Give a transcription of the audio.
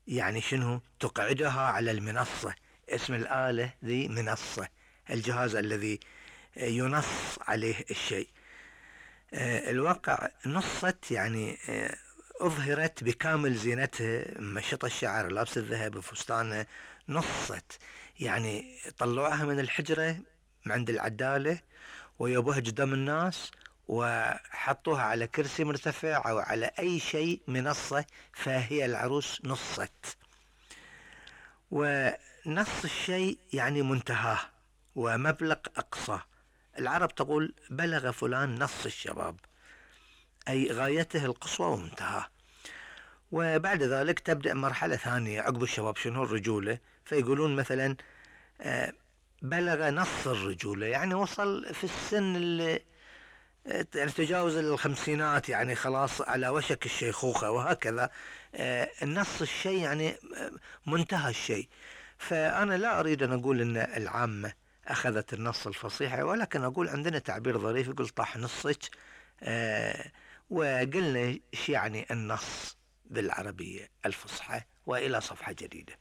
يعني شنو؟ تقعدها على المنصة. اسم الآلة ذي منصة، الجهاز الذي ينص عليه الشيء. الواقع نصت يعني أظهرت بكامل زينتها، مشط الشعر، لابس الذهب، فستانه، نصت يعني طلعوها من الحجرة عند العدالة ويبوها قدام الناس وحطوها على كرسي مرتفع أو على أي شيء منصة، فهي العروس نصت. ونص الشيء يعني منتهاه ومبلغ أقصى. العرب تقول بلغ فلان نص الشباب، أي غايته القصوى ومنتهاه. وبعد ذلك تبدأ مرحلة ثانية عقب الشباب، شنو؟ الرجولة. فيقولون مثلا بلغ نص الرجولة، يعني وصل في السن اللي يعني تجاوز الخمسينات، يعني خلاص على وشك الشيخوخة، وهكذا. النص الشيء يعني منتهى الشيء. فأنا لا أريد أن أقول أن العامة أخذت النص الفصيح، ولكن أقول عندنا تعبير ظريف يقول طاح نصك. وقلنا ايش يعني النص بالعربية الفصحى. وإلى صفحة جديدة.